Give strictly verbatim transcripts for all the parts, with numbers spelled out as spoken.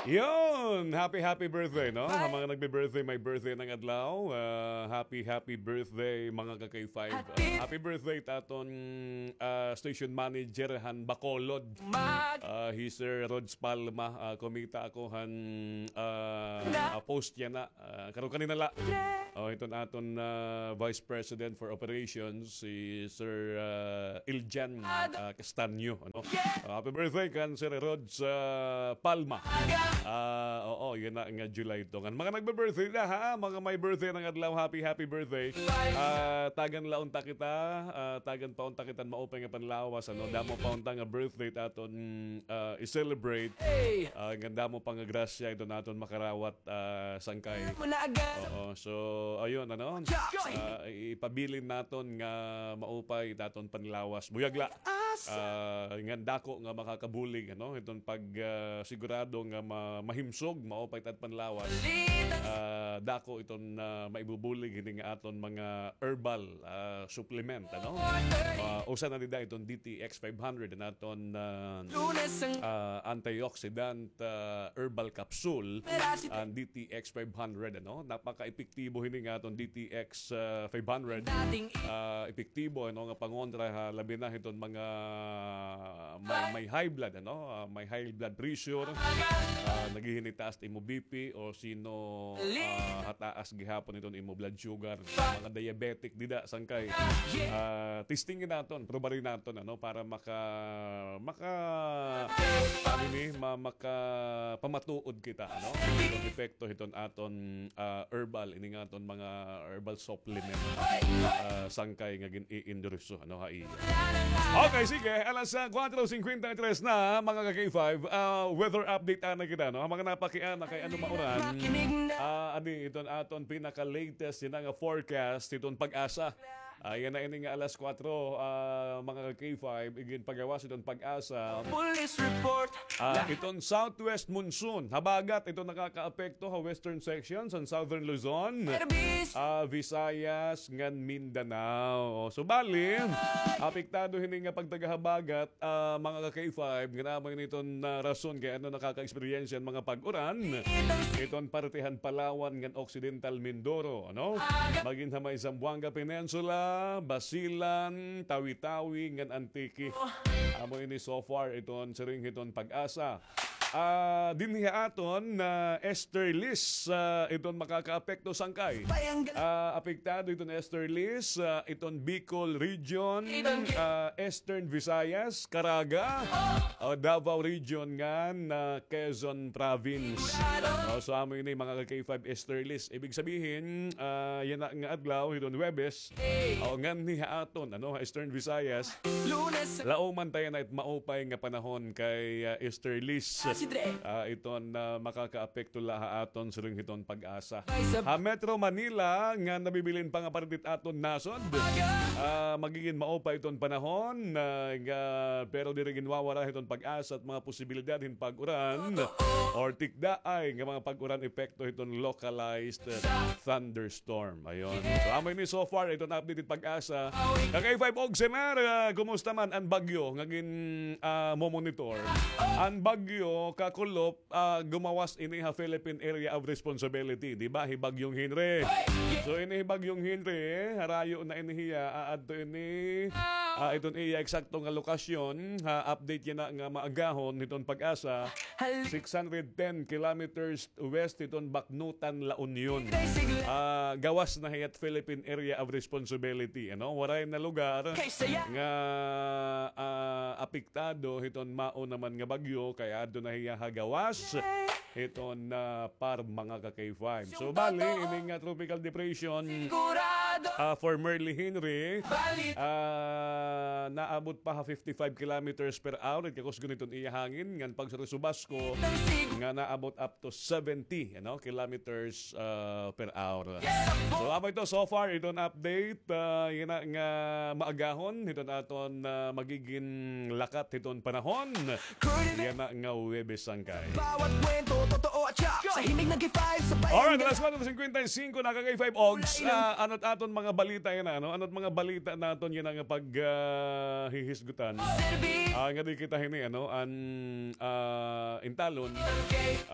Yun! Happy, happy birthday, no? Ha mga nagbe-birthday, may birthday ng adlaw. Ah, happy, happy birthday, mga ka-K five. Ah, happy birthday ta aton, ah, station manager han Bacolod. Ah, hi Sir Rods Palma, ah, kumita ako han, ah, ah, post niya na. Ah, karon kanina la. Oh, iton aton, ah, Vice President for Operations, si Sir, ah, Iljan, ah, Castaño, ano? Ah, happy birthday kan Sir Rods, ah, Palma. Ah, oo, yana nga July ito. Ngan mga nagbe-birthday na, ha? Mga may birthday ng adlaw, happy, happy birthday. Ah, tagan la unta kita, ah, tagan pa unta kita maupay nga panlawas, ano? Damo pa unta nga birthday ta aton, ah, i-celebrate. Ah, ngan damo pa nga grasya iton aton makarawat, ah, sangkay. Oo, so, ayun, ano? Ah, ipabilin naton nga maupay it aton panlawas. Buyag la. Ah, ngan dako nga makakabulig, ano? Iton pag, ah, sigurado nga ma-, mahimsog, maupay it at panlawas. Ah, dako iton, ah, maibubulig hini nga aton mga herbal, ah, supplement, ano? Ah, usa na dida iton D T X five hundred, an aton, ah, ah, antioxidant, ah, herbal capsule, an D T X five hundred, ano? Napaka-epektibo hini nga aton D T X, ah, five hundred. Ah, epektibo, ano, nga pangontra ha, labi na hiton mga may, may high blood, ano? Ah, may high blood pressure. Ah, naghihinitaas imo B P o sino, ah, hataas gihapon iton imo blood sugar. Mga diabetic dida, sangkay. Ah, testingin naton, probarin naton, ano, para maka, maka, ano ni, ma-, makapamatuod kita, ano? Iton epekto hiton aton, ah, herbal, ini nga aton mga herbal supplement, ah, sangkay nga gin-i-endorso, ano, ha iya. Okay, sige, alas, ah, kwatro singkwenta y tres na, mga ka-K five. Ah, weather update ana kita, no? An mga napakiana kay ano mauran. Ah, adi, iton aton pinaka-latest yana nga forecast, iton PAGASA. Ah, yana ini nga alas kwatro, ah, mga ka-K five, iginpagawas iton PAGASA. Police report. Ah, iton southwest monsoon, habagat iton nakakaapekto ha western sections han southern Luzon, ah, Visayas, ngan Mindanao. So, bali, apektado hini nga pagtaga habagat, ah, mga ka-K five, nga amo ini iton, ah, rason kay ano nakaka-eksperyensya hin mga pag-uran iton parte han Palawan ngan Occidental Mindoro, ano? Magin ha may Zamboanga Peninsula, Basilan, Tawi-Tawi, ngan Antique. Amo ini so far iton siring hiton PAGASA. Ah, dinhi ha aton, ah, easterlies, ah, iton makakaapekto sangkay. Ah, apektado iton easterlies, ah, iton Bicol Region, ah, Eastern Visayas, Caraga, o Davao Region ngan, ah, Quezon Province. O, so amo ini mga ka-K five easterlies. Ibig sabihin, ah, yana nga adlaw, hiton Huwebes, o, nganhi ha aton, ano, ha Eastern Visayas, laoman ta yana it maupay nga panahon kay, ah, easterlies. Ah, iton, ah, makakaapekto la ha aton siring hiton PAGASA. Ha Metro Manila nga nabibilin pa nga parte hit aton nasod, ah, magigin maupay iton panahon, ah, nga, pero diri ginwawara hiton PAGASA it mga posibilidad hin pag-uran or tikdaay nga mga pag-uran epekto hiton localized, ah, thunderstorm. Ayon. So, amo ini so far, iton update hit PAGASA. Ka-K five Ogsenar, ah, kumusta man an bagyo nga gin, ah, momonitor? An bagyo, kakulop, ah, gumawas ini ha Philippine Area of Responsibility, di ba? Hi Bagyong Henry. So, ini hi Bagyong Henry, harayo na ini hiya, aadto ini, ah, iton iya eksakto nga lokasyon, ha, update yana nga maagahon hiton PAGASA, six hundred ten kilometers west hiton Bacnotan, La Union. Ah, gawas na hiya hit Philippine Area of Responsibility, ano? Waray na lugar nga, ah, apektado hiton mao naman nga bagyo, kay adto na hiya ha gawas hiton, ah, PAR, mga ka-K five. So, bali, ini nga tropical depression, ah, formerly Henry, ah, naabot pa ha fifty-five kilometers per hour it kakusgon hiton iya hangin, ngan pagsursubasko nga naabot up to seventy, ano, kilometers, ah, per hour. So, amo ito so far, iton update, ah, yana nga maagahon hiton aton, ah, magigin lakat hiton panahon yana nga Huwebes sangkay. Bawat kwento, totoo at siya. Sa himig ng K five, sabay. Alright, alas kwatro singkwenta y singko na, ka-K five Ogs. Ah, ano it aton mga balita yana, ano? Ano it mga balita naton yana nga pag, ah, hihisgutan? Ah, nga di kita hini, ano, an, ah, intalon,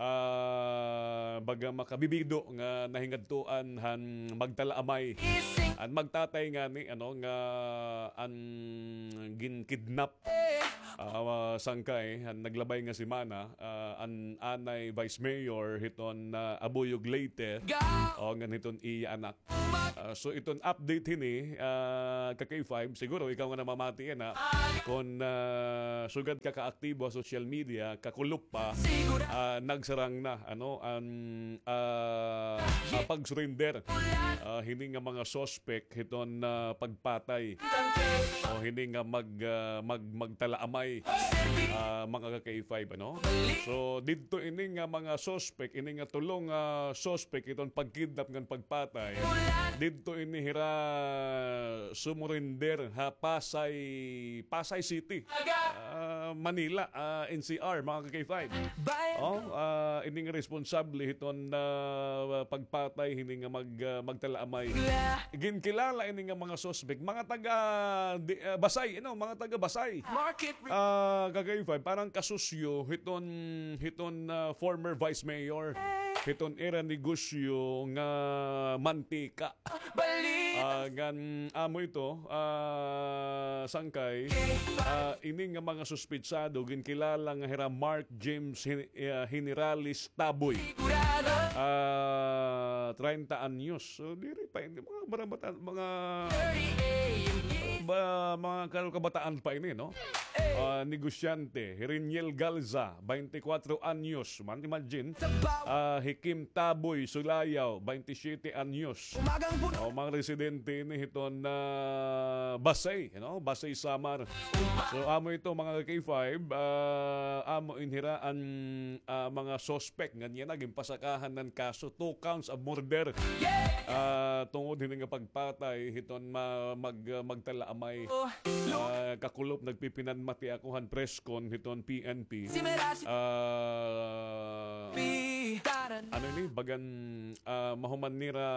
ah, baga makabibido nga nahingadtuan han magtalaamay. An magtatay ngani, ano, nga an ginkidnap, ah, sangkay han naglabay nga semana, ah, an anay vice mayor hiton, ah, Abuyog, Leyte, o ngan hiton iya anak. Ah, so iton update hini, ah, ka K five, siguro ikaw nga namamati yana, kon, ah, sugad ka kaaktibo ha social media, kakulop pa, ah, nagsarang na, ano, an, ah, ah, pag-surrender, ah, hini nga mga suspect hiton, ah, pagpatay o hini nga mag, ah, mag, magtalaamay, ah, mga ka K five, ano? So, didto ini nga mga suspect, ini nga tulo nga suspect hiton pagkidnap ngan pagpatay, didto ini hira sumurrender ha Pasay, Pasay City, ah, Manila, ah, N C R, mga ka K five. Oh, ah, ini nga responsable hiton, ah, pagpatay hini nga mag, ah, magtalaamay. Ginkilala ini nga mga suspect, mga taga, di, ah, Basay, you know, mga taga Basay. Ah, ka K five, parang kasusyo hiton, hiton, ah, former vice mayor, hiton ira negosyo nga mantika. Ah, ngan amo ito, ah, sangkay, ah, ini nga mga suspetsado ginkilala nga hira Mark James Hin-, ah, Generales Taboy. Ah, treinta anyos. So, diri pa ini, mga barabatan, mga, ba, mga kal-, kabataan pa ini, no? Ah, negosyante, Reniel Galza, baynte kwatro anyos. Man, imagine. Ah, hi Kim Taboy Sulayaw, baynte siyete anyos. O, mga residente ini hiton, ah, Basay, you know, Basay, Samar. So, amo ito, mga ka K five, ah, amo ini hira an, ah, mga suspect ngan yana ginpasakahan han kaso, two counts of murder. Ah, tungod hini nga pagpatay hiton ma-, mag-, magtalaamay. Ah, kakulop nagpipinanmati ako han press con hiton P N P. Ah, ano ini, bagan, ah, mahuman nira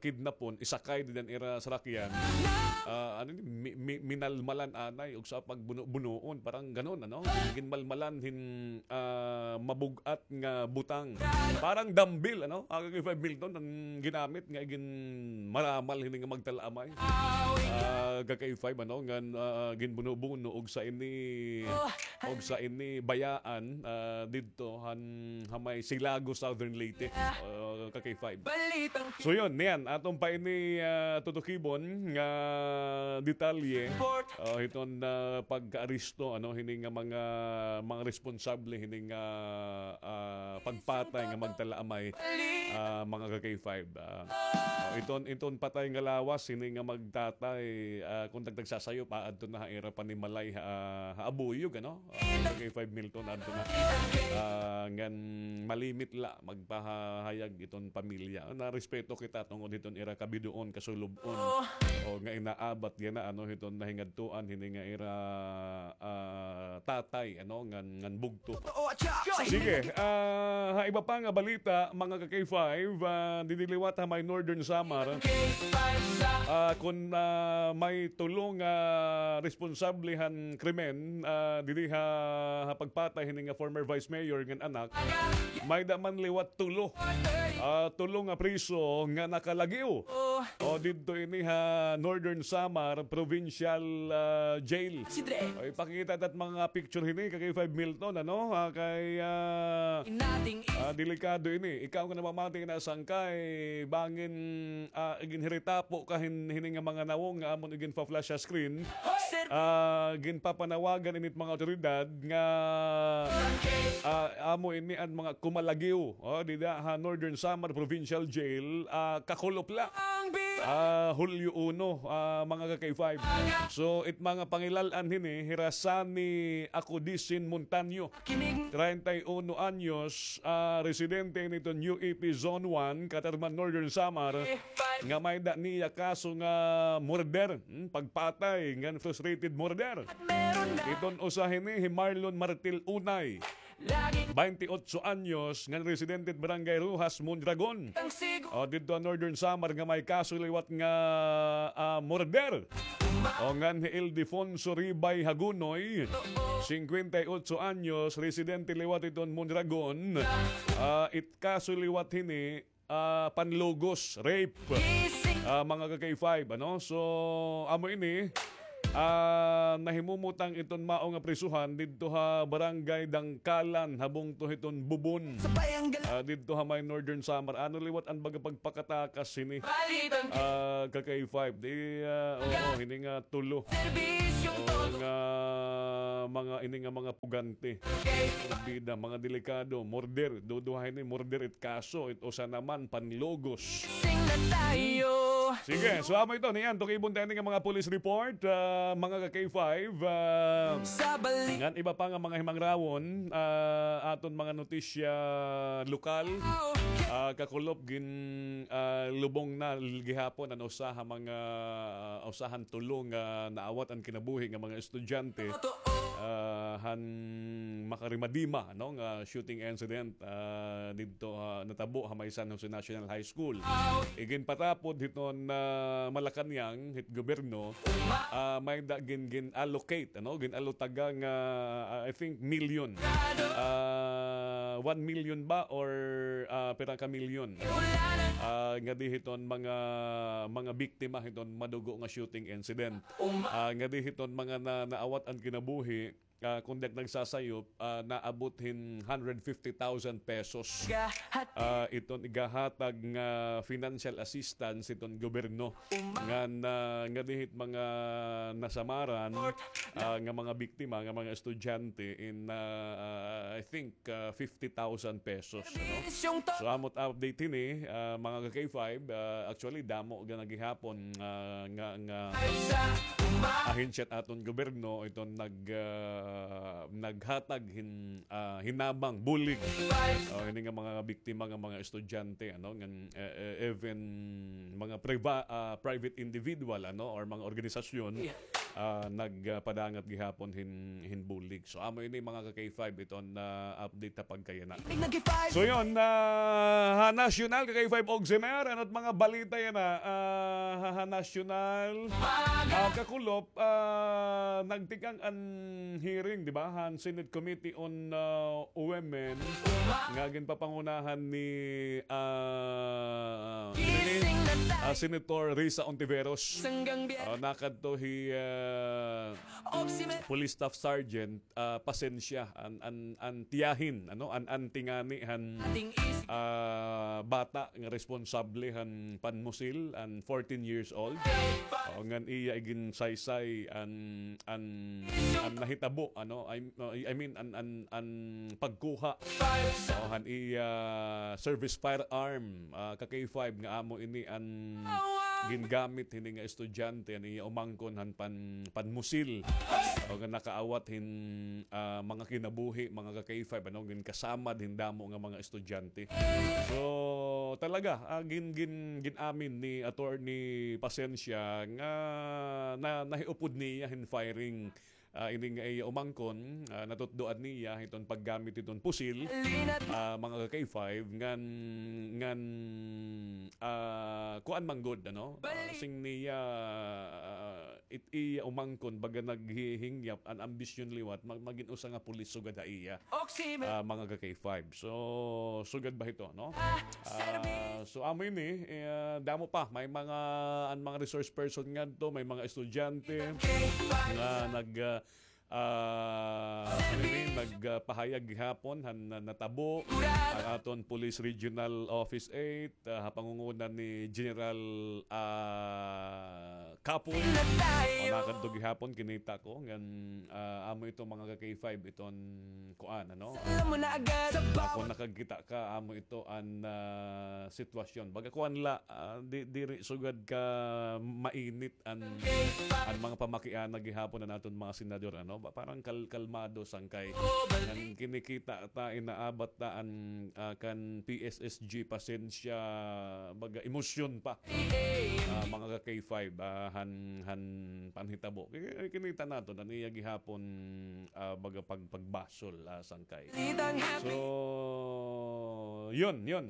kidnapon, isakay dida han ira sarakyan. Ah, ano ini, mi-, mi-, minalmalan anay, ug sa pagbuno-bunoon, parang ganon, ano? Ginmalmalan hin, ah, mabug-at nga butang. Parang dumbbell, ano? Ah, ka K five Milton, an ginamit nga ginmaramal hini nga magtalaamay. Ah, ka K five, ano, ngan, ah, ginbuno-buno, ug sa ini, ug sa ini bayaan, ah, didto han, ha may Silago, Southern Leyte. Ah, ka K five. So yun, niyan, aton pa ini, ah, tutukibon nga detalye. Ah, hiton, ah, pagkaaresto, ano, hini nga mga, mga responsable hini nga, ah, pagpatay nga magtalaamay, ah, mga ka K five. Ah, oh, iton, iton patay nga lawas hini nga magtatay, ah, kon tagtagsasayop, aadto na ha ira panimalay, ah, ha Abuyog, ano? Ah, mga ka K five Milton, adto na. Ah, ngan malimit la magpahayag iton pamilya. Narespeto kita tungod hiton ira kabidoon, kasulub-on. O, nga inaabat yana, ano, hiton nahingadtuan hini nga ira, ah, tatay, ano, ngan, ngan bugto. Sige, ah, ha iba pa nga balita, mga ka K five, ah, didi liwat ha may Northern Samar. Ah, kon, ah, may tulo nga responsable han krimen, ah, didi ha, ha pagpatay hini nga former vice mayor ngan anak, may-da man liwat tulo. Ah, tulo nga preso nga nakalagiw. O, didto ini ha Northern Samar Provincial, ah, Jail. O, ipakita ta it mga picture hini, ka K five Milton, ano? Ah, kay, ah, ah, delikado ini. Ikaw nga namamati na sangkay, bangin, ah, ginhiritapo ka hin-, hini nga mga nawong nga amon iginpa-flash sa screen. Ah, ginpapanawagan ini it mga awtoridad nga, ah, amo ini an mga kumalagiw, oh, dida ha Northern Samar Provincial Jail, ah, kakulop la. Ah, Hulyo uno, ah, mga ka K five. So, it mga pangilal-an hini, hira Sani Acudisin Montaño, treinta y uno anyos, ah, residente ini hiton U E P Zone one, Catarman, Northern Samar, nga may-da niya kaso nga murder, hmm, pagpatay, ngan frustrated murder. Iton usa hini, hi Marlon Martil Unay, baynte otso anyos, ngan residente hit Barangay Roxas, Mondragon. O, didto ha Northern Samar nga may kaso liwat nga, ah, murder. O, ngan hi Ildefonso Ribay Hagunoy, singkwenta y otso anyos, residente liwat hiton Mondragon. Ah, it kaso liwat hini, ah, panlugos, rape. Ah, mga ka-K five, ano? So, amo ini, ah, nahimumutang iton mao nga prisuhan didto ha Barangay Dangkalan, ha bungto hiton Bubon. Ah, didto ha may Northern Samar. Ano liwat an baga pagpakatakas hini? Ah, ka-K five. Di, ah, oo, hini nga tulo. Oo, nga mga, ini nga mga pugante. Bida, mga delikado. Murder. Duduha ini, murder it kaso. It usa naman, panlugos. Sige, so amo ito, niyan, tukibon ta ini nga mga police report, ah, mga ka-K five, ah, ngan iba pa nga mga himangrawon, ah, aton mga notisya lokal, ah, kakulop gin, ah, lubong na l-, gihapon an usa ha mga, ah, usa han tulo nga naawat an kinabuhi nga mga estudyante, ah, han makarimadima, no, nga shooting incident, ah, didto, ah, natabo ha may San Jose National High School. Iginpatapod hiton, ah, Malacañang, hit gobyerno, ah, may da gin, gin-allocate, ano, gin-allotaga nga, ah, I think, million. Ah, one million ba or, ah, pira ka million? Ah, ngadi hiton mga, mga biktima hiton madugo nga shooting incident. Ah, ngadi hiton mga na, naawat an kinabuhi, ah, kon di ak nagsasayop, ah, naabot hin hundred fifty thousand pesos. Ah, iton igahatag nga financial assistance iton gobyerno ngan, ah, ngadi hit mga nasamaran, ah, nga mga biktima, nga mga estudyante in, ah, I think, ah, fifty thousand pesos, ano? So, amo it update hini, ah, mga ka-K five, ah, actually, damo gihapon, ah, nga, nga ahensya hit aton gobyerno iton nag, ah, naghatag hin, ah, hinabang, bulig. O, hini nga mga biktima nga mga estudyante, ano, ngan, eh, eh, even mga priva-, ah, private individual, ano, or mga organisasyon, ah, nagpadangat gihapon hin, hin bulig. So, amo ini mga ka-K five iton, ah, update ha pagkayana. So, yun, ah, ha nasyonal, ka-K five Ogsimer, ano it mga balita yana, ah, ha, ha nasyonal, ah, kakulop, ah, nagtikang an hearing, di ba, han Senate Committee on, ah, Women, nga ginpapangunahan ni, ah, ni, ah, Senator Risa Ontiveros. Ah, nakadto hi, ah, Police Staff Sergeant, ah, Pasensya, an, an, an tiyahin, ano, an, an auntie ngani han, ah, bata nga responsable han panmusil, an fourteen years old. O, ngan iya iginsaysay an, an, an nahitabo, ano, I, I mean, an, an, an pagkuha, o, han iya service firearm, ah, ka-K five nga amo ini an gingamit hini nga estudyante, an iya umangkon han pan-, panmusil. O, nga nakaawat hin, ah, mga kinabuhi, mga ka-K five, ano, ginkasamad hin damo nga mga estudyante. So, talaga, ah, gin-, gin-, gin-amin ni Attorney Pasensya nga na-, nahiupod niya hin firing, ah, ini nga iya umangkon, ah, natutdoan niya hiton paggamit hiton pusil, ah, mga ka-K five, ngan, ngan, ah, kuan man gud, ano? Ah, sing niya, ah, it iya umangkon, baga naghihingyap, an ambisyon liwat, mag-, magin usa nga pulis sugad ha iya. Ah, mga ka-K five. So, sugad ba hito, no? Ah, so, amo ini, eh, damo pa. May mga, an mga resource person ngadto, may mga estudyante nga nag, ah, ah, ano ini, nagpahayag gihapon han na-, natabo. An aton Police Regional Office eight, ah, ha pangunguna ni General, ah, Kapoy. O, nakadto gihapon, kinita ko, ngan, ah, amo ito mga ka-K five, iton kuan, ano? Ako nakagkita ka, amo ito an, ah, sitwasyon. Baga kuan la, ah, di, diri sugad ka mainit an, an mga pamakiana gihapon an aton mga senador, ano? pa-, parang kal-, kalmado, Sangkay. Ngan kinikita ta, inaabat ta an, ah, kan P S S G, pasensya, baga emosyon pa. Ah, mga ka K five, ah, han, han panhitabo. Ki-, kinita naton an iya gihapon, ah, baga pag-, pagbasol, ah, Sangkay. So, yun, yun.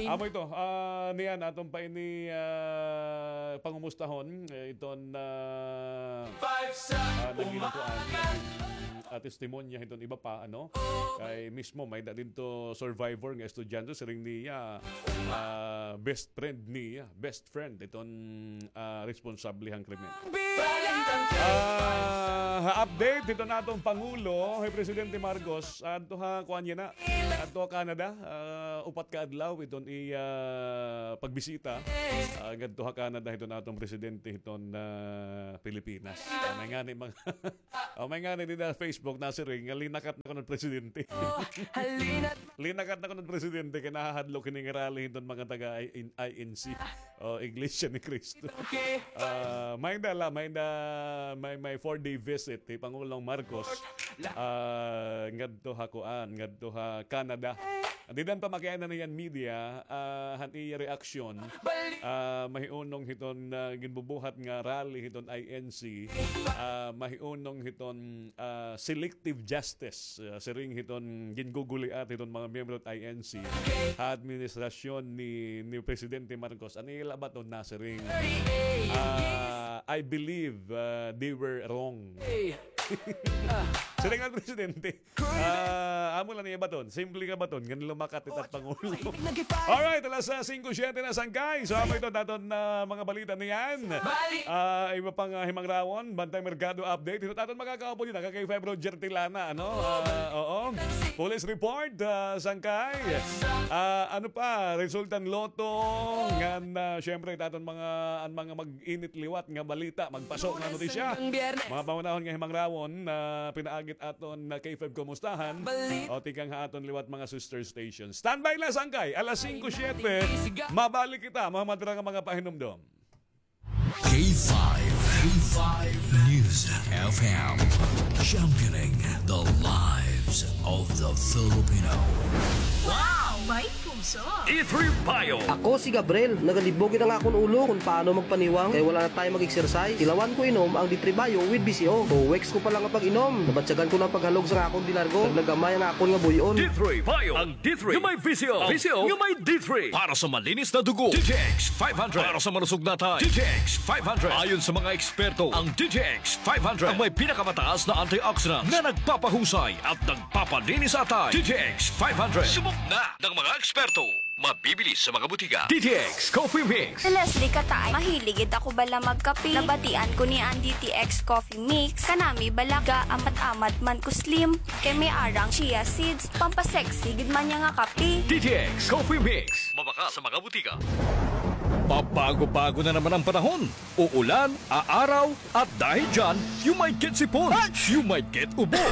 Amo ito, ah, niyan, aton pa ini, ah, pangumustahon, eh, iton, ah, ah, naging kuan, naging, ah, testimonya hiton iba pa, ano? Kay mismo, may-ada didto survivor nga estudyante, siring niya, ah, best friend niya, best friend iton, ah, responsable han krimen. Ah, ha update hiton aton Pangulo, hi Presidente Marcos, adto ha kuan niya na, adto ha Canada, ah, upat ka adlaw iton iya pagbisita, ah, ngadto ha Canada hiton aton presidente hiton, ah, Pilipinas. Ah, may ngani mga, ah, may ngani dida Facebook nasiring nga linakat na kuno presidente. Linakat na kuno presidente kay nahahadlok hini nga rally hiton mga taga I-, in-, I N C o Iglesia ni Cristo. Ah, may-ada la, may-ada, may, may four-day visit hi Pangulong Marcos, ah, ngadto ha kuan, ngadto ha Canada. Dida pa makiana niyan media, ah, han iya reaksyon, ah, mahiunong hiton, ah, ginbubuhat nga rally hiton I N C, ah, mahiunong hiton, ah, selective justice, ah, siring hiton ginguguliat hiton mga miyembro hit I N C ha administrasyon ni, ni Presidente Marcos. An ila baton nasiring, ah, "I believe, ah, they were wrong." Siring han presidente. Ah, amo la niya baton. Simple nga baton. Ngan lumakat it at Pangulo. Alright, alas, ah, singko siyete na, Sangkay. So, amo ito aton, ah, mga balita niyan. Ah, iba pang, ah, himangrawon. Bantay Merkado update. Ito aton makakaupo dito. Kay Feb Roger Tilana, ano? Ah, oo. Police report, ah, Sangkay. Ah, ano pa? Resulta han lotto. Ngan, ah, syempre, ito aton mga, an mga mag-init liwat nga balita. Magpaso nga notisya. Mga pangunahon nga himangrawon na pinaagit aton na K five Kumustahan. O tikang ha aton liwat mga sister stations. Standby la, Sangkay. Alas singko siyete, mabalik kita. Mga madra nga mga pahinumdom. K five, K five News F M. Championing the lives of the Filipino. Wow! May puso! D three Bio. Ako si Gabriel. Nagalibog gid an akon ulo kon paano magpaniwang kay wala na tayo mag-exercise. Tilawan ko inom ang D three Bio with V C O. Two weeks ko pa lang nga pag-inom, nabatyagan ko na an paghalog sa akon de largo. Naglagamay an akon nga buy-on. D three Bio, ang D three nga may V C O. V C O nga may D three. Para sa malinis na dugo, D T X five hundred. Para sa malusog na atay, D T X five hundred. Ayon sa mga eksperto, ang D T X five hundred ang may pinakamataas na antioxidant na nagpapahusay at nagpapalinis sa atay. D T X five hundred. Subok na ng mga eksperto. Mabibili sa mga butika. D T X Coffee Mix. Si Leslie Kataay, mahilig gid ako bala magkape. Nabatian ko niya an D T X Coffee Mix. Kanami bala, gaamat-amat man ko slim. Kay may arang chia seeds, pampasexy gid man niya nga kape. D T X Coffee Mix. Mabakal sa mga butika. Pabago-bago na naman ang panahon. Uulan, aaraw, at dahil dyan, you might get sipon. You might get ubo.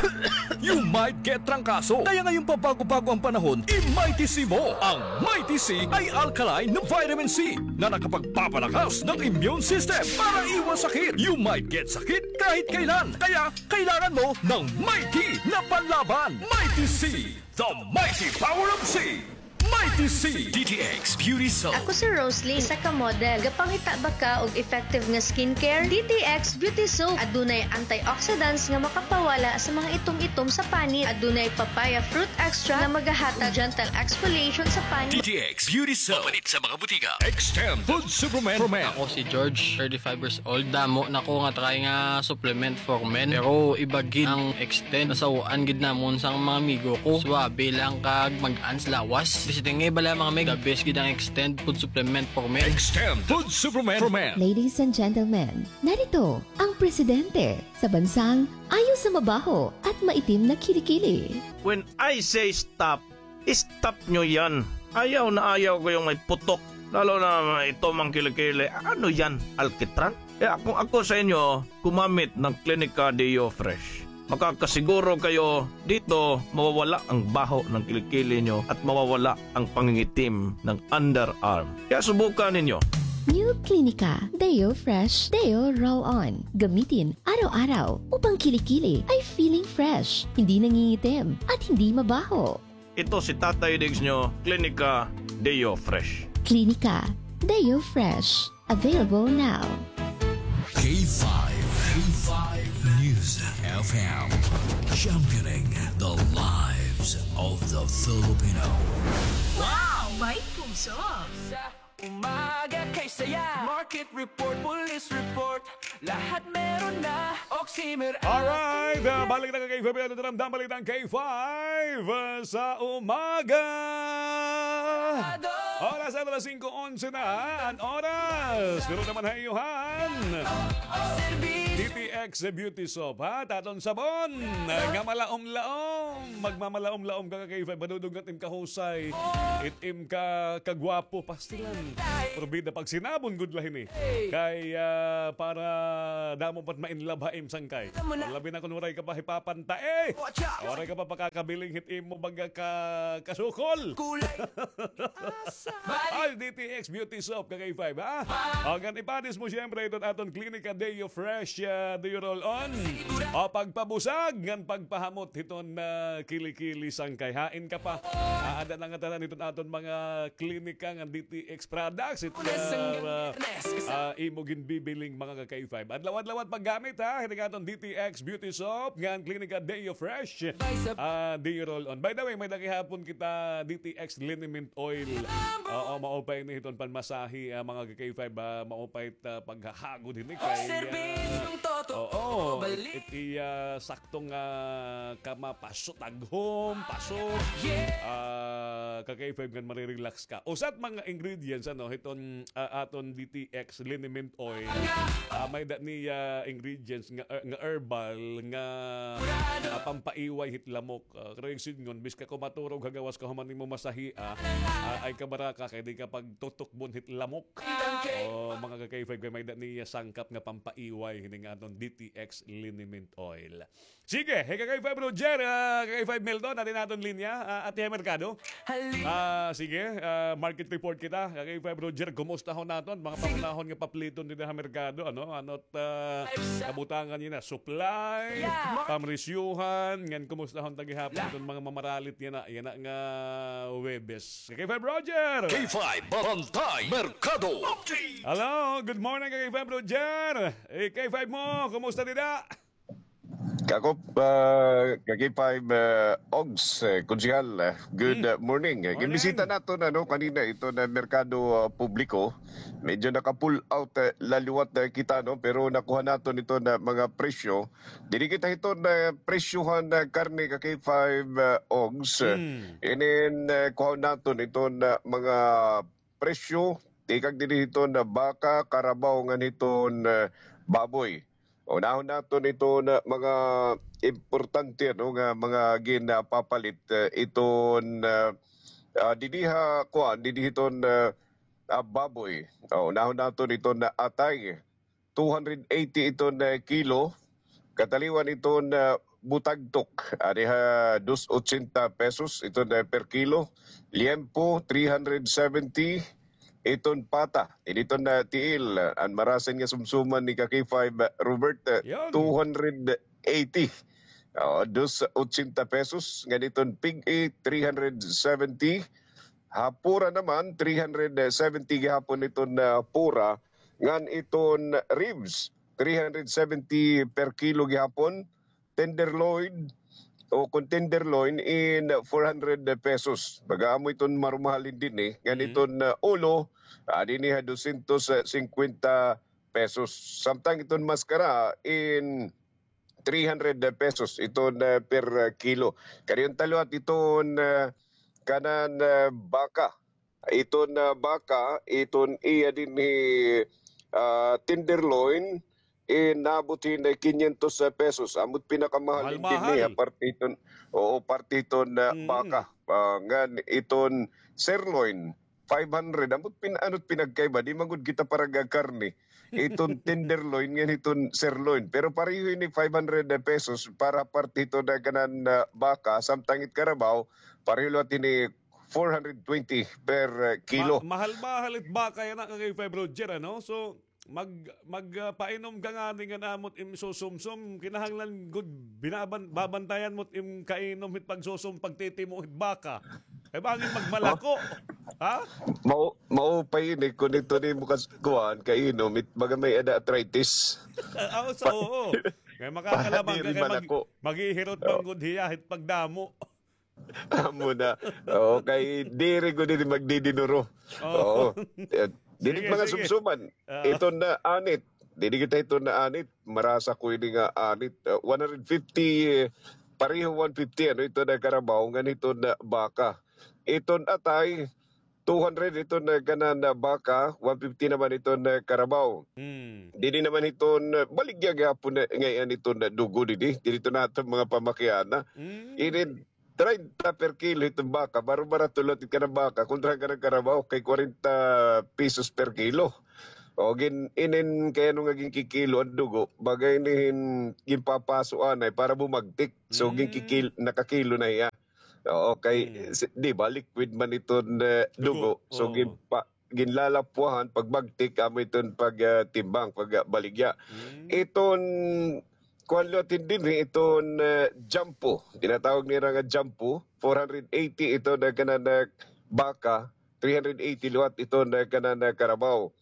You might get trangkaso. Kaya ngayong pabago-bago ang panahon, i-Mighty C mo. Ang Mighty C ay alkaline na vitamin C na nakapagpapalakas ng immune system para iwas sakit. You might get sakit kahit kailan. Kaya kailangan mo ng Mighty na panlaban. Mighty C, the mighty power of C. Mighty C. D T X Beauty Soap. Ako si Roslyn, isa ka model. Gapangita ba ka og effective nga skincare? D T X Beauty Soap. Adunay antioxidants nga makapawala sa mga itom-itom sa panit. Adunay papaya fruit extract nga magahatag gentle exfoliation sa panit. D T X Beauty Soap. Mapalit sa mga butika. Extend Food Supplement for Men. Ako si George, thirty-five years old. Damo na ko nga try nga supplement for men. Pero iba gid ang Extend. Nasaw-an gid namon sang mga amigo ko. Suabe lang kag mag-an sa lawas. Visiting nga bala mga mig, the best gid ang Extend Food Supplement for Men. Extend Food Supplement for Men. Ladies and gentlemen, narito ang presidente sa bansang ayaw sa mabaho at maitim na kilikili. When I say stop, stop nyo yan. Ayaw na ayaw ko yung may putok. Lalo na may itom ang kilikili. Ano yan? Alkitran? Kaya kung ako sa inyo, gumamit ng Clinica Deo Fresh. Makakasiguro kayo dito mawawala ang baho ng kilikili nyo at mawawala ang pangingitim ng underarm. Kaya subukan ninyo. New Clinica Deo Fresh Deo Roll-On. Gamitin araw-araw upang kilikili ay feeling fresh, hindi nangingitim, at hindi mabaho. Ito si Tatay Diggs nyo, Klinika Deo Fresh. Klinika Deo Fresh. Available now. K five, K five News F M, championing the lives of the Filipino. Wow! May puso! Sa umaga kay saya. Market report, police report, lahat meron na. Oximer. Alright, ah, balik na ka K five, ano na ramdam balitang K five, ah, sa umaga. Oras na alas singko onse na, ah, an oras. Pero naman ha iyohan. Serbisyo. D T X Beauty Soap, ha? Taton sabon nga malaom-laom. Magmamalaom-laom ka ka K five, madudugnat im kahusay. It im ka kagwapo, pastilan. Pero bida, pagsinabon gud la hini. Kay, ah, para damo pa it ma-in love ha im sangkay. Labi na kon waray ka pa hipapanta, eh. Waray ka pa pakakabiling hit imo baga ka kasukol. Kulay. Ay, D T X Beauty Soap, ka K five, ha? O, ngan ipanis mo, siyempre, iton aton Klinika Deo Fresh, ah, Deo Roll-On. O, pagpabusag, ngan pagpahamot hiton, ah, kilikili sangkay. Hain ka pa. Ah, ada na ngatanan hiton aton mga klinika ngan D T X products. It, ah, ah, imo ginbibiling mga ka K five. Adlaw-adlaw it paggamit, ha? Hiton aton D T X Beauty Soap, ngan Klinika Deo Fresh, ah, Deo Roll-On. By the way, may-ada gihapon kita D T X liniment oil. Oo, maupay ini hiton panmasahe, ah, mga ka K five, ah, maupay it, ah, paghahagod hini kay, ah, oo, it iya saktong, ah, kama paso, taghom, paso. Ah, ka K five ngan marirelax ka. Usa it mga ingredients, ano, hiton, ah, aton D T X liniment oil. Ah, may-ada niya ingredients nga, nga herbal nga, ah, pampaiway hit lamok. Ah, karuyag sidngon, bisan ka kumaturog ha gawas kahuman nimo masahia, ah, ay kabaraka kay di ka pagtutukbon hit lamok. O, mga ka K five, kay may-ada niya sangkap nga pampaiway hini nga aton D T X liniment oil. Sige, hey, ka K five Roger, ah, ka K five Milton, aton linya, ah, ati ha merkado. Ah, sige, ah, market report kita. Ka K five Roger, kumustahon naton mga pangunahon nga papliton dida ha merkado, ano? Ano it, ah, kabutangan niya na, supply, pamresyuhan, ngan kumustahon ta gihapon iton mga mamaralit niya na, yana nga Huwebes. Ka K five Roger! K five Bantay Merkado Update! Hello, good morning, ka K five Roger! Eh, K five mo, kumusta dida? Kakop, ah, ka K five, ah, Ogs, eh, Konsehal, ah, good, ah, morning. Eh, ginbisita naton, ano, kanina ito na merkado, ah, publiko. Medyo naka-pull out, eh, la liwat, eh, kita, no? Pero nakuha naton ito na mga presyo. Diri kita hiton, eh, presyohan na karne ka K five, ah, Ogs. Inin, eh, kuhaon naton ito na mga presyo, tikang diri hiton baka, karabaw, ngan hiton, eh, baboy. Unahon naton iton mga importante, no, nga mga ginapapalit, eh, iton, eh, ah, didi ha, kuan, didi hiton, eh, ah, baboy. O, unahon naton iton atay, two hundred eighty iton, eh, kilo. Kataliwan iton, eh, butagtok, adi ha dos ochenta pesos iton, eh, per kilo. Liempo, three hundred seventy iton pata. Initon na tiil, an marasin nga sumsuman ni ka K five, Robert, eh, two hundred eighty. O, dos ochenta pesos. Ngan iton pig-i, three hundred seventy. Ha pura naman, three hundred seventy gihapon iton, ah, pura. Ngan iton ribs, three hundred seventy per kilo gihapon. Tenderloin, o kon tenderloin in four hundred pesos. Baga amo iton marumahal dinhi, eh. Ngan iton, ah, ulo, ah, dinhi ha dosyentos singkwenta pesos. Samtang iton maskara in three hundred pesos iton, ah, per, ah, kilo. Kaniyon ta liwat iton, ah, kanan, ah, baka. Iton, ah, baka, iton iya dinhi, ah, tenderloin, eh, naabot hin kinyentos pesos. Amo it pinakamahal dinhi, ah, parte iton, oo, parte iton, ah, baka. Ah, ngan iton sirloin, five hundred. Amo it pin-, ano it pinagkaiba? Di man gud kita parag-a karne. Iton tenderloin ngan iton sirloin. Pero pareho ini five hundred pesos para parte iton kanan, ah, baka, samtang it karabaw, pareho liwat ini four hundred twenty per, ah, kilo. Ma-, mahal-mahal it baka yana, ka K five Roger, ano? So, mag-, mag-, ah, painom ka ngani ngan amo it im susumsum, kinahanglan gud binaban-, babantayan mo it im kainom hit pagsusum, pagtitimo hit baka. Kay bangin magmalako. Ha? Mau-, maupay ini kon ito nimo kas-, kuan, kainom, it baga may-ada arthritis. Ah, oo, so, oo. Kay makakalamang ka kay mag-, maghihirot man gud hiya hit pagdamo. Amo na. Oo, kay diri gud ini magdidinuro. Oo. Oo. Eh, diri mga sumsuman. Iton na anit. Diri kita iton na anit. Marasa ko ini nga anit. Uh, one hundred fifty, eh, pareho one fifty, ano, iton na karabaw, ngan iton na baka. Iton atay, two hundred iton na kanan na baka, one fifty naman iton na karabaw. Diri naman iton, uh, baligya gihapon na, ngay-an iton na dugo didi. Diri iton aton mga pamakiana. Ini treinta per kilo iton baka, baro-barato liwat it kanan baka, kontra kanan karabaw, kay kwarenta pesos per kilo. O, gin-, inin kay ano nga ginkikilo an dugo, baga ini hin-, ginpapaso anay para bumagtik. So, ginkikil-, nakakilo na hiya. Oo, kay, si-, di ba, liquid man iton, eh, dugo. So, ginpa-, ginlalapwahan, pagbagtik, amo iton pag, ah, timbang, pag, ah, baligya. Iton kuan liwat dinhi, iton, eh, jampo. Tinatawag nira nga jampo. Four hundred eighty iton na kanan na baka, three hundred eighty liwat iton na kanan na karabaw.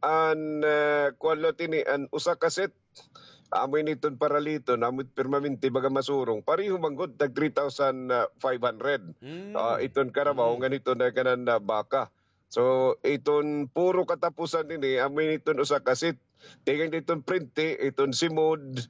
An, eh, kuan liwat ini, an usa ka set, amo ini iton paraliton, amo it permanente, baga masurong. Pareho man gud, tag three thousand five hundred. Ah, iton karabaw, ngan iton na kanan na baka. So, iton puro katapusan ini, amo ini iton usa ka set. Tikang diton prente, iton simod,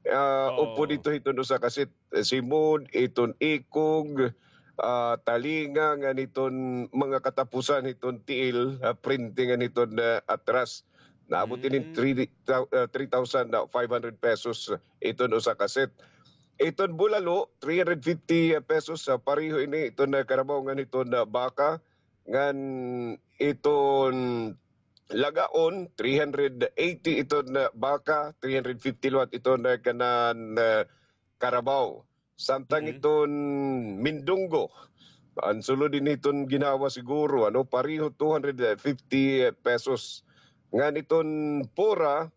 ah, upod dito iton usa ka set. Eh, simod, iton ikog, ah, talinga, ngan iton mga katapusan iton tiil, ah, prente ngan iton, ah, atras. Naabot ini three, ah, three thousand five hundred pesos iton usa ka set. Iton bulalo, three hundred fifty pesos, ah, pareho ini iton, ah, karabaw ngan iton, ah, baka. Ngan iton lagaon, three hundred eighty iton na baka, three hundred fifty liwat iton na kanan, ah, karabaw. Samtang iton mindunggo, an sulod ini iton ginhawa siguro, ano, pareho two hundred fifty pesos. Ngan iton pura,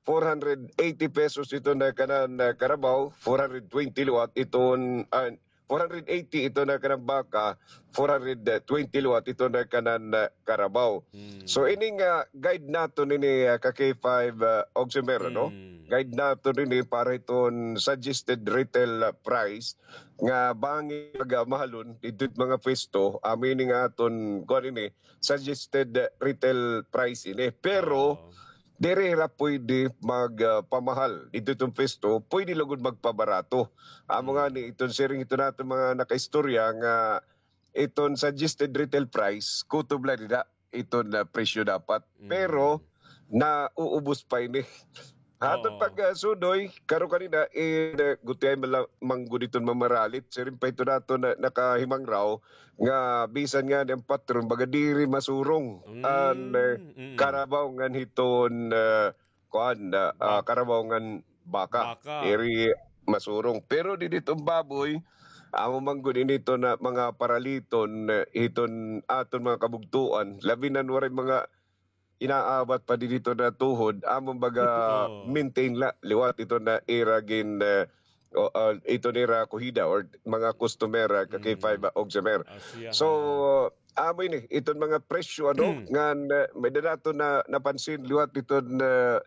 four hundred eighty pesos iton na kanan, ah, karabaw, four hundred twenty liwat iton, ah, four hundred eighty iton na kanan baka, four hundred twenty liwat iton na kanan, ah, karabaw. So, ini nga guide naton ini, ah, ka K five, ah, Ogsimer, no? Guide naton ini para iton suggested retail, ah, price nga bangin pagmahalon didto mga pwesto, amo ini nga aton, kuan ini, suggested, ah, retail price ini. Pero, diri hira pwede mag, ah, pamahal. Didto iton pwesto, pwede la gud magpabarato. Amo ngani, iton siring iton aton mga nakaistorya nga iton suggested retail price, kutob la dida iton, ah, presyo dapat. Pero, nauubos pa ini. Aton pag, ah, sudoy, karon kanina, eh, gutiay man la-, man gud iton mamaralit. Siring pa iton aton na, nakahimangraw, nga bisan ngani an patron, baga diri masurong an, eh, karabaw ngan hiton, eh, kuan, ah, ah, karabaw ngan baka. Diri masurong. Pero didi iton baboy, amo man gud ini iton na mga paraliton, eh, hiton aton mga kabugtoan, labi na waray mga inaawat pa didi iton na tuhod, amo baga maintain la, liwat iton na ira gin, eh, o, ah, iton ira kuhida or mga customer, ah, ka K five, ah, Ogsimer. So, amo ini, iton mga presyo, ano, ngan, eh, may-ada naton na napansin liwat iton, eh,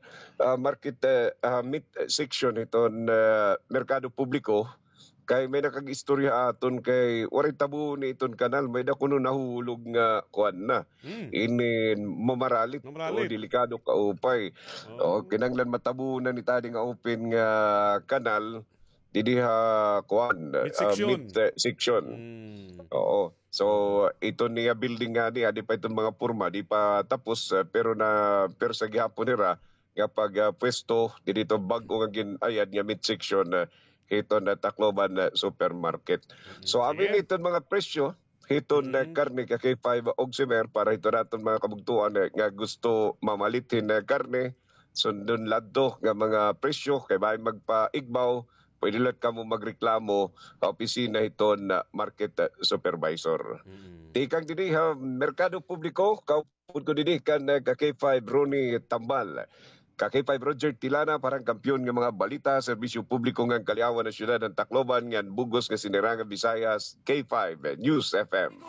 ah, market, eh, ah, meat section iton, eh, merkado publiko. Kay may nakag-istorya aton kay waray tabunon iton kanal, may-ada kuno nahulog nga kuan na. Ini mamaralit o delikado kaupay. O, kinahanglan matabunan ni tadi nga open nga kanal didi ha kuan, ah, meat, eh, section. Oo. So, iton niya building ngani, adi pa iton mga porma, di pa tapos, eh, pero na, pero sa gihapon nira, nga pag, ah, pwesto didto bag-o nga gin-ayad nga meat section, ah, hiton, ah, Tacloban, ah, Supermarket. So, amo ini iton mga presyo hiton, ah, karne ka K five Ogsimer para hiton aton mga kabugtoan, ah, nga gusto mamalit hin, ah, karne, sundon la adto nga mga presyo kay bangin magpaigbaw pwede la kamo magreklamo ha opisina hiton, ah, market, ah, supervisor. Mm. Tikang didi ha merkado publiko, kaupod ko didi kan, ah, ka K five Ronnie Tambal. Ka K five Roger Tilana para han kampiyon nga mga balita, serbisyo publiko ngan kaliawan han syudad han Tacloban ngan bug-os nga sinirangan Visayas, K five News F M.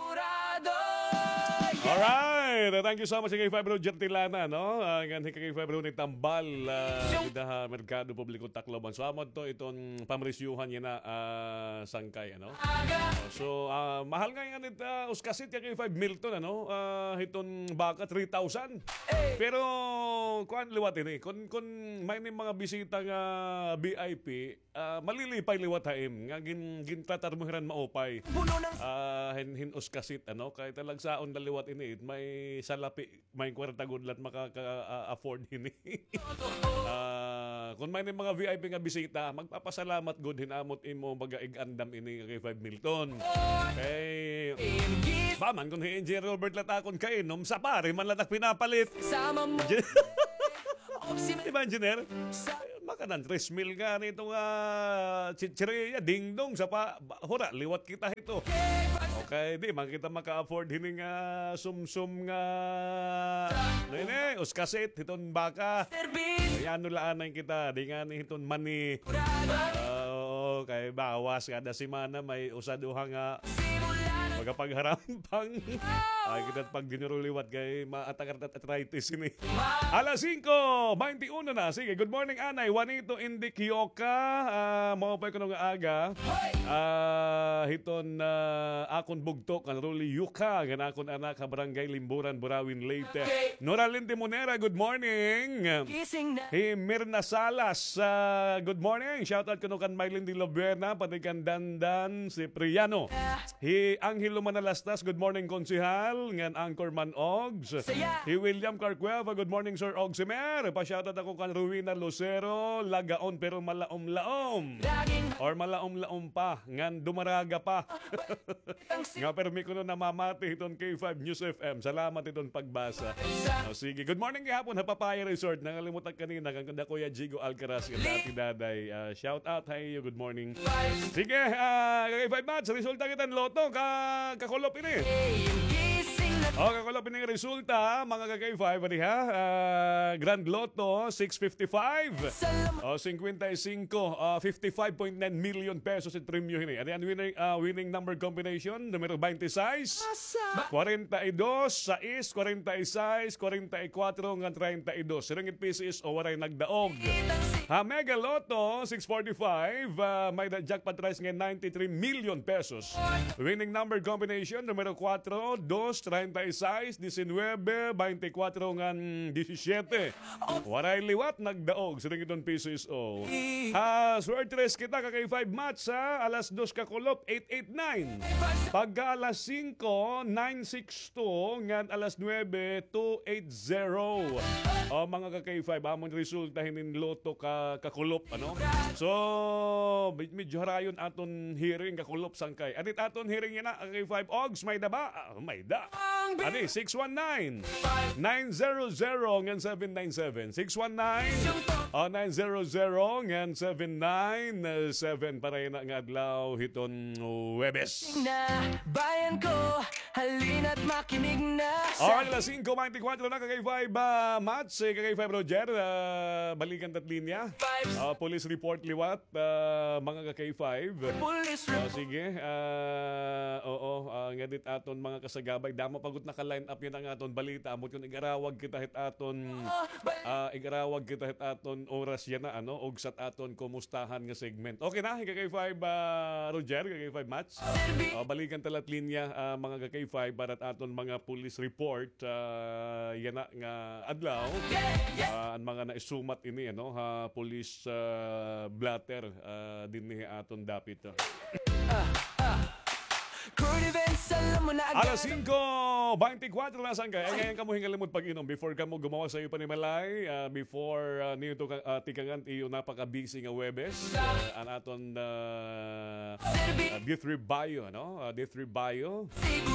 Alright, thank you so much, K five Roger Tilana, no? Ah, ngan hi K five Ronnie Tambal, ah, dida ha Merkado Publiko Tacloban. So, amo to iton pamresyuhan yana, ah, sangkay, ano? So, ah, mahal ngay-an it, ah, uskasit, K five Milton, ano? Ah, hiton baka, three thousand. Pero kuan liwat ini, kun, kun may ni mga bisita nga V I P, ah, malilipay liwat ha im nga gin-, gintatarmo hira hin maupay. Ah, hin, hin uskasit, ano, kay talagsaon la liwat ini, may salapi, may kwarta gud la it makaka-, ah, afford hini. Ah, kun may ni mga V I P nga bisita, magpapasalamat gud hin amo it imo baga ig-andam ini, K five Milton. Kay, ba man kun hi Engineer Robert la it akon kainom, sapari man la it ak pinapalit. Di ba, Engineer? Makanan tres mil ngani ito nga chichirya, dingdong, sapa, ba, hura, liwat kita hito. Okay, di man kita maka-afford hini nga sumsum nga, ano ini, uskasit, hiton baka. Kay ano la anay kita, di ngani hiton mani. Ah, oo, kay bawas kada semana may usa duha nga magapagharam. Pang, ay, kita pagdinuro liwat kay maatak arthritis ini. Alas singko baynte uno na. Sige, good morning, Anay. Juanito Indik Yoka. Ah, maupay kuno nga aga. Ah, hiton, ah, akon bugto, kan Rolly Yuka, ngan akon anak ha Barangay Limburan, Burawin, Leyte. Noraline Timonera, good morning. Hi Mirna Salas, ah, good morning. Shout out kuno kan Mylene de la Buena, pati kan Dandan Cipriano. Hi Angelo Manalastas, good morning, Konsehal, ngan Anchorman Ogs. Hi William Carcueva, good morning, Sir Ogs Emer. Pa-shoutout ako kan Rowena Lucero, lagaon pero malaom-laom. Or malaom-laom pa, ngan dumaraga pa. Nga permi kuno namamati hiton K five News F M. Salamat hiton pagbasa. O, sige. Good morning gihapon ha Papaya Resort. Nangalimot ak kanina kan Kuya Jigo Alcaraz, nga dati daday. Ah, shout out ha iyo. Good morning. Sige, ah, ka K five Mats, resulta kita hin lotto, ka, kakulop ini. O, kakulop ini nga resulta, mga ka K five, diha, ah, Grand Lotto, six fifty-five. O, singkwenta y singko, ah, fifty-five point nine million pesos it premyo hini. Ano yan, winning, ah, winning number combination, numero baynte sais, kwarenta y dos, sais, kwarenta y sais, kwarenta y kwatro, ngan treinta y dos. Siring it P C S O, waray nagdaog. Ha Mega Lotto six forty-five, ah, may-ada jackpot prize nga ninety-three million pesos. Winning number combination, numero kwatro, dos, treinta y sais, diecinuebe, baynte kwatro, ngan disisyete. Waray liwat nagdaog, siring iton P C S O. Ha Swerte Race kita, ka K five Mats, ha, alas dos kakulop, eight eight nine. Pagka alas singko, nine six two, ngan alas nuebe, two eight zero. O, mga ka K five, amon resulta hinin lotto ka, kakulop, ano? So, med-, medyo harayon aton hearing kakulop sangkay. Ano it aton hearing yana, ka K five Ogs, may-ada ba? Ah, may-ada. Adi, six one nine, nine zero zero, ngan seven nine seven. Six one nine, ah, nine zero zero, ngan seven nine seven. Para yana nga adlaw hiton Huwebes. Na, bayan ko, halina't makinig na sa... Alright, alas singko baynte kwatro na, ka K five, ah, Mats, eh, ka K five Roger, ah, balikan ta it linya. Ah, police report liwat, ah, mga ka K five. Police report. Ah, sige, ah, oo, ah, ngadit aton mga kasagabay, damo pa gud naka-line up yana nga aton balita, ambot kon ig-arawag kita hit aton, ah, ig-arawag kita hit aton oras yana, ano, ugsa it aton kumustahan nga segment. Okay na, ka K five, ah, Roger, ka K five Mats. Ah, balikan ta la it linya, ah, mga ka K five, para it aton mga police report, ah, yana nga adlaw. Ah, an mga naisumat ini, ano, ha police, ah, blotter, ah, dinhi ha aton dapit, ah. Current events Alas singko beintikwatro na sangkay. Ay, ngayon kamo hingalimot pag-inom before kamo gumawas sa iyo panimalay, ah, before, ah, niyo to ka-, ah, tikangan iyo napaka-busy nga Huwebes. Ah, an aton, ah, ah, D three Bio, no? Ah, D three Bio,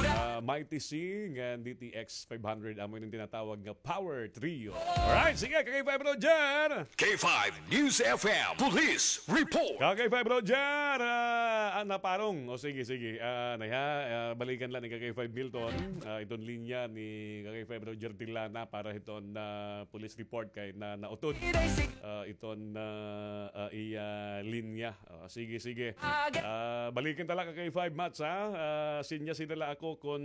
ah, Mighty C, ngan D T X five hundred, amo ini an tinatawag nga Power Trio. Alright, sige, K five Roger. K five News F M Police Report. Ka K five Roger, ah, ah, naparong. O, sige, sige. Ah, naya, ah, balikan la ni ka K five Milton. Ah, iton linya ni ka K five Roger Tilana para hiton, ah, police report kay na nautod. Ah, iton, ah, ah, iya linya. Ah, sige, sige. Ah, balikan ta la ka K five Mats, ha? Ah, sinya sila la ako kon,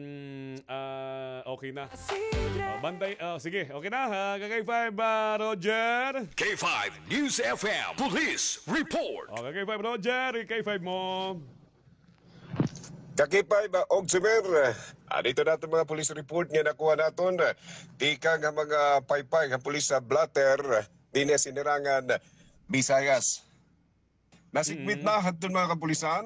ah, okay na. Ah, bantay, ah, sige, okay na, ha? Ka K five, ah, Roger. K five News F M Police Report. O, ka K five Roger, K five mo. Ka K five, ah, Og Sumer, ah, dito naton mga police report nga nakuha naton, ah, tikang nga mga paypay nga police sa blotter, dinhi sa Sinirangan, Visayas. Nasigwit na hadton mga kapulisan,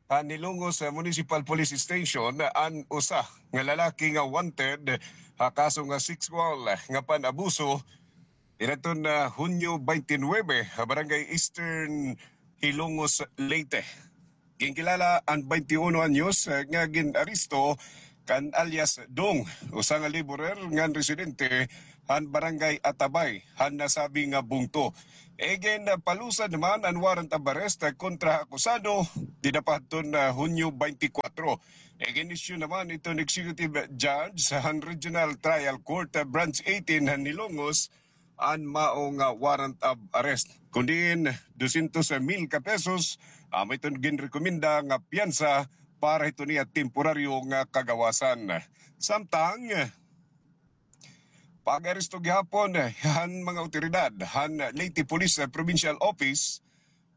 ah, Hilongos, ah, Municipal Police Station, ah, an usa nga lalaki nga wanted, ah, ha kaso nga sexual, ah, nga pan-abuso, didto na Hunyo twenty-nine, ha Barangay Eastern, Hilongos, Leyte. Ginkilala an twenty-uno anyos, ah, nga gin-aresto kan alias Dong, usa nga laborer ngan residente han Barangay Atabay, han nasabi nga bungto. Igin, ah, palusad naman an warrant of arrest, ah, kontra ha akusado, dida pa hadton, ah, Hunyo twenty-four. Igin-issue naman iton executive judge han Regional Trial Court, ah, Branch eighteen han Hilongos, an mao nga warrant of arrest. Kun diin, dosyentos mil ka pesos, amo iton ginrekomenda nga piyansa para hiton iya temporaryo nga kagawasan. Samtang, pag-aresto gihapon han mga awtoridad han Leyte Police Provincial Office,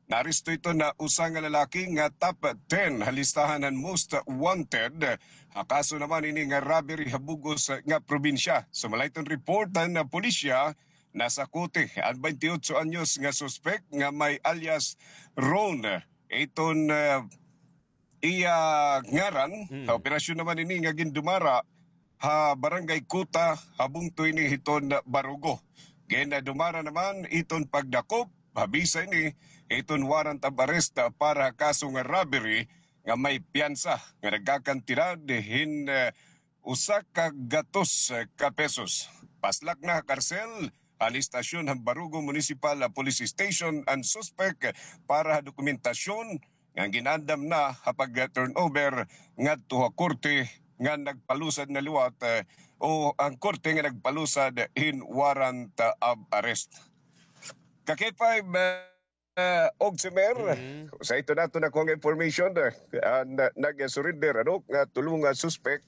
naaresto iton usa nga lalaki nga top ten ha listahan han most wanted ha kaso naman ini nga robbery ha bug-os nga probinsya. Sumala hiton report han pulisya, nasakuti an twenty-eight anyos nga suspek nga may alias Ron. Iton, ah, iya ngaran, ha operasyon naman ini nga gindumara ha Barangay Kuta, ha bungto ini hiton Barugo. Gindumara naman iton pagdakop, ha bisa ini iton warrant of arrest para ha kaso nga robbery nga may piyansa nga nagkakantidad hin, eh, usa ka gatos ka pesos. Paslak na ha karsel, han istasyon han Barugo Municipal Police Station an suspek para ha dokumentasyon nga gin-andam na ha pag-turnover ngadto ha korte nga nagpalusad na liwat, eh, o an korte nga nagpalusad hin warrant of arrest. Ka K five, eh, Og Sumer, sa ito nato nakuha nga information, eh, an, ah, nag-surrender, ano, nga tulo nga suspek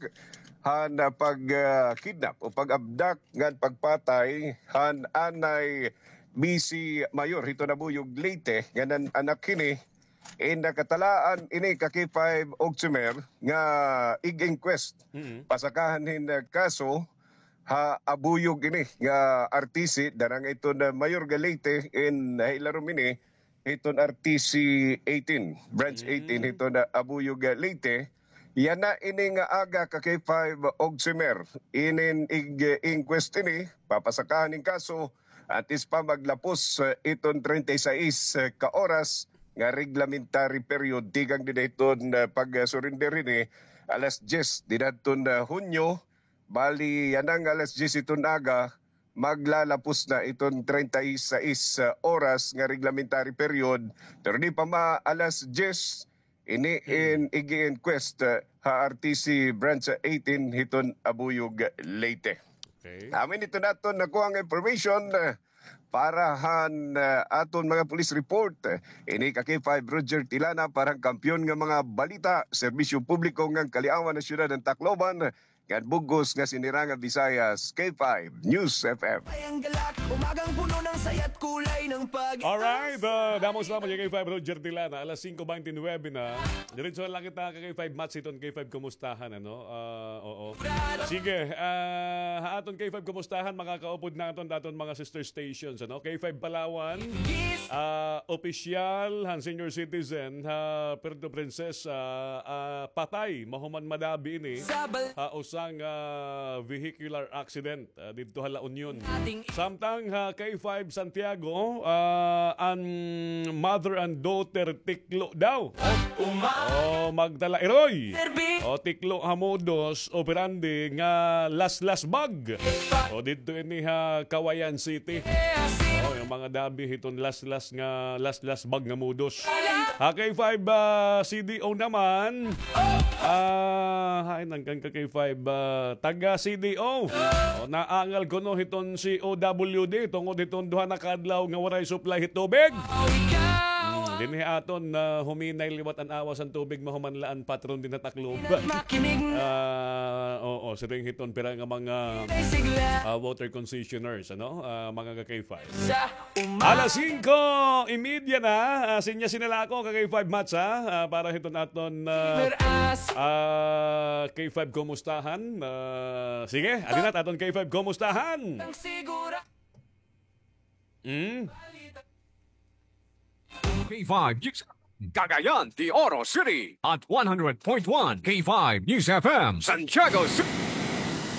han, ah, pag, ah, kidnap o pag-abduct ngan pagpatay han anay Bisi Mayor hiton Abuyog, Leyte, nga nan-anak hini, in nakatalaan ini ka K five Og Sumer nga ig-inquest. Pasakahan hin, ah, kaso ha Abuyog ini nga R T C, danang iton, ah, Mayor ga Leyte, in, ah, ilarom ini hiton R T C eighteen, Branch eighteen hiton, ah, Abuyog, ah, Leyte. Yana ini nga aga ka K five Og Sumer, inin ig-inquest ini, papasakahan hin kaso, antes pa maglapos, ah, iton treinta y seis, ah, ka oras nga reglementary period tikang dida hiton, ah, pag-surrender ini, alas dyes dida hiton, ah, Hunyo. Bali, yana nga alas dyes hiton aga, maglalapos na iton treinta y seis, ah, oras nga reglementary period. Pero di pa ma-alas dyes, ini in ig-inquest, ah, ha R T C Branch eighteen hiton Abuyog, Leyte. Okay. Amo ini iton aton nakuha nga information, ah, para han, ah, aton mga police report. Ini ka K five Roger Tilana para han Kampiyon nga Mga Balita, Serbisyo Publiko ngan Kaliawan han Syudad han Tacloban. ngan bug-os nga sinira nga Visayas, K five News F M. Ay ang galak, umagang puno ng saya't kulay ng pag-asa. Alright, ah, damo salamat kay K five Roger Tilana. Alas singko bente nuwebe na. Diretso na la kita kay K five Mats hiton K five Kumustahan, ano? Ah, oo. Sige, ah, ha aton K five Kumustahan, makakaupod naton, aton mga sister stations, ano? K five Palawan, ah, opisyal han senior citizen ha Puerto Princesa, ah, patay, mahuman madabi ini ha usa nga vehicular accident, ah, didto ha La Union. Samtang ha K five Santiago, ah, an mother and daughter tiklo daw. O, magdala iroy. O, tiklo ha modus operandi nga laslas bag. O, didto ini ha Cauayan City. O, yung mga dabi hiton laslas nga, laslas bag nga modus. Ha K five, ah, C D O naman. Ah, hain an kan ka K five, ah, taga C D O. O, naangal kuno hiton C O W D tungod hiton duha na ka adlaw nga waray supply hit tubig. Hmm, dinhi aton, ah, huminay liwat an awas an tubig, mahuman la an patron dinhi ha Tacloban. Ah, oo, siring hiton pira nga mga, ah, water concessioners, ano? Ah, mga ka K five. Alas singko y media na, ah, sinya sinala ako ka K five Mats, ha? Ah, para hiton aton, ah, ah, K five Kumustahan. Ah, sige, adi na aton K five Kumustahan. Mm. K five News, Cagayan de Oro City at one hundred point one K five News F M, Santiago City.